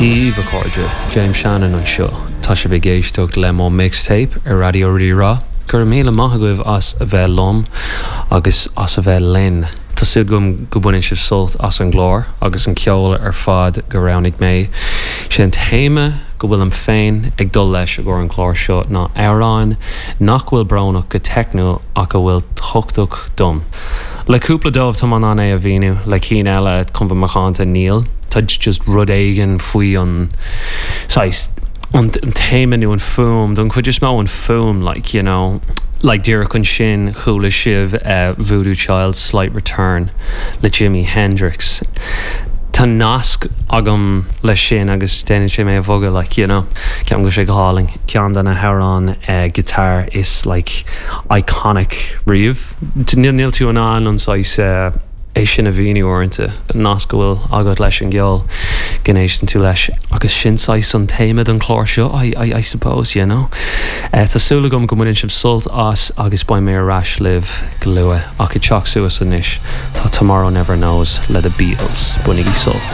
Dia daoibh, a chairde, James Shannon anseo. Tá sibh ag éisteacht le mo mixtape ar Raidió Rí-Rá. Go raibh míle maith agaibh as a bheith liom agus as a bheith linn. Tá súil agam go mbaineann sibh sult as an gclár agus an ceol ar fad go roghnaigh mé. Sé an téama go bhfuilim féin ag dul leis i gcomhair an chláir seo ná amhráin nach bhfuil brónach go teicniúil ach a bhfuil tábhachtach dom. Le cúpla dóibh tá mé in ann é a mhíniú, le cinn eile chun bheith macánta níl. Tá just rud éigin faoi an saghas an téama nó an fuaim, don chuid is mó an fuaim like you know. Like díreach ansin chuala sibh Voodoo Child's Slight Return le Jimi Hendrix. Tá nasc agam leis sin agus déanann sé mé a bhogadh like you know. Ceapaim go bhfuil sé go hálainn. Ceann de na hamhráin guitar is like iconic riamh. Níl tú in ann an saghas é sin a mhíniú uaireanta, an nasc go bhfuil agat leis an gceol go n-éisteann tú leis. Agus sin saghas an téama don chlár seo, I, I, I suppose, you know. Tá súil agam go mbaineann sibh sult as agus beidh mé ar ais libh go luath. Ach ag teacht suas anois tá Tomorrow Never Knows le The Beatles. Bainigí sult.